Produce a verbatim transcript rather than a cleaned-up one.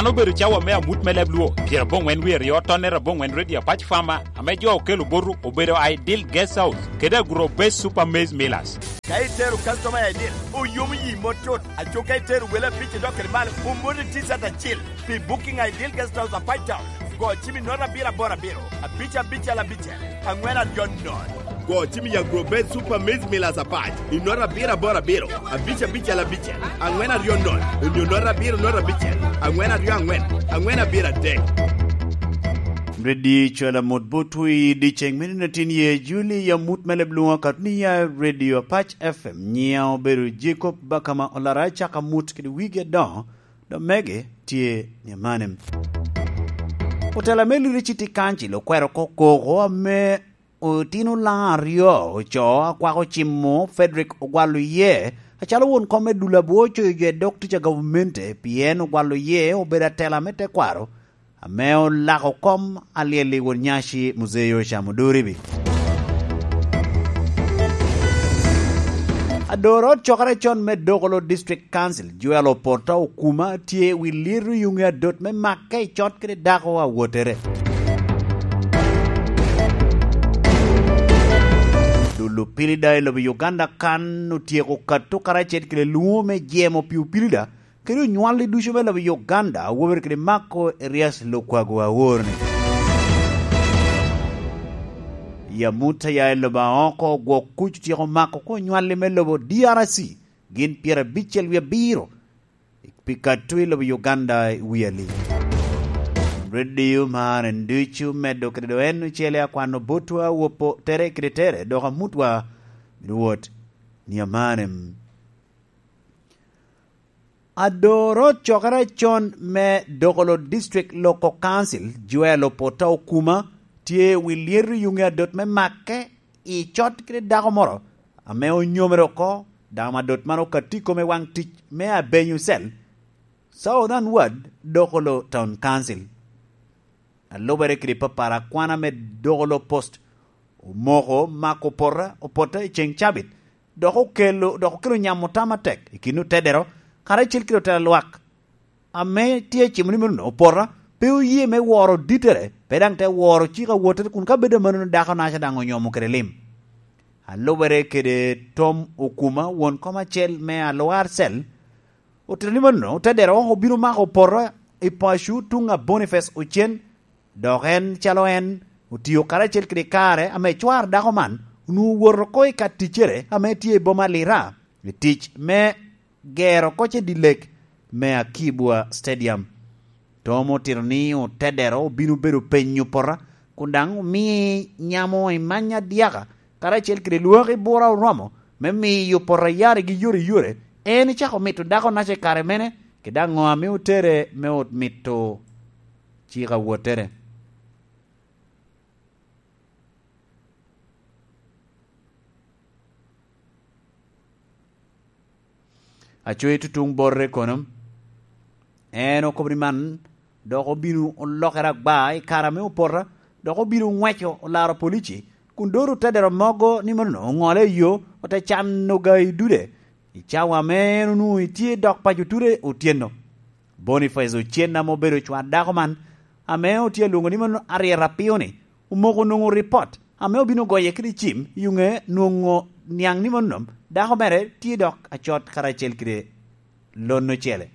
An obedo cawa me amut me leb Luo, pyerabongwen wie aryo, tonnere abongwen Redio Apac Fama, ame jo okelo botu obedo Ideal Guest House kede Agro Base Super Maize Millers. Ka itero customer i Ideal, oyomo yi mot tut. Aco ka itero wele abic idok kede malo, omoti T-shirt acil. Pi booking Ideal Guest House Apac Town, go cim i nota abiro aboro abiro, abic abicel abicel, angwen aryo nono. Go cim i Agro Base Super Maize Millers Apac i nota abiro aboro abiro, abic abicel abicel, angwen aryo nono, onyo nota abiro nota abicel, angwen aryo angwen, angwen abiro adek. Redio Cwala Mot Botwi, dyeceng me nino tin ye Juli, ya mut me leb Luo kato ni ya Redio Apac F M. Nyiŋa obedo Jacob Bakama Olara, acaka mut kede wigi adoŋo, dok mege tye ni amanem. Otela me Leadership Council okwero oko koko ame otino Olaŋo aryo ocoo, akwako cimo Frederick Ogwal Oyee acalo won kom me dul abwo coyo jo i dog tic a gavumenti, pien Ogwal Oyee obedo atela me tekwaro ame olako kom alyel i won nyaci Muzei Yoweri Oduribi. Ador ot cokere con me Dokolo District Council, Joel Opota Okuma, tye i wi lyeto yuŋe adot me makke i cot kede dako awottere. Dul opilida i lobo Uganda kan otyeko kato karacel kede lwoŋo me jemo pi opilida kede onywalli ducu me lobo Uganda, awobe kede Marco Erias Lukwago Awor-ni. Yamut aya i lobo aoko gwok kuc otyeko mako ko onywalli me lobo D R C, gin pyerabicel wie abiro pi kato i lobo Uganda i wi ali. Redio mar en ducu medo kede do en ocele akwano botwa wopo tere kede tere, dok amutwa bino wot ni amanem. Adoro cokere con me Dokolo District Local Council, Joel Opota Okuma, tye wi lyeto yuŋe adot me makke i cot kede dako moro ame onyomere oko, dako adot man okatti kome waŋ tic me Abenyu Cell, Southern Ward, Dokolo Town Council. A lubere kede papara, akwana me Dokolo Post omoko mako opota, opota i ceŋ cabit, dok okelo, dok okelo nyamo tam atek i kin otedero, karacel kede otela lwak ame tye acimo ni meno opota pe oye me woro dittere, pe daŋ te woro cik awottere, kun ka bedo amannono dako naca daŋ onyomo kede lim. A lubere kede Tom Okuma, won kom acel me Alwar Cell, otito ni mano, otedero obino mako opota i paco tuŋ a Boniface Ocen, dok en calo en otio karacel kede kare ame cwar dako man onwoŋo owoto oko i ka ticcere ame tye i boma Lira, i tic me gero koc i dye lek me Akibwa Stadium. Tom otito ni otedero obino bedo penyo opota, kun daŋ omii nyamo i many adyaka, karacel kede lwaki bura oromo me miyo opota yarigi yore yore. En icako mito dako naca i kare mene, kede aŋo ame otere me ot mito cik awottere? Aco i tutuŋ bote kono, en okobo ni man dok obino olokere agba i kare ame opota, dok obino ŋweco olaro polici, kun doro otedero mogo ni mano oŋole i yo, ote cano ga i dude i cawa ame en onwoŋo etye dok paco ture otyeno. Boniface Ocen ame obedo cwar dako man, ame otye alwoŋo ni mano Arieta Apio-ni, omoko onwoŋo ripot ame obino goye kede cim i yuŋe nwoŋo niaŋ ni mano dako mere tye dok acot karacel kede lon ocele.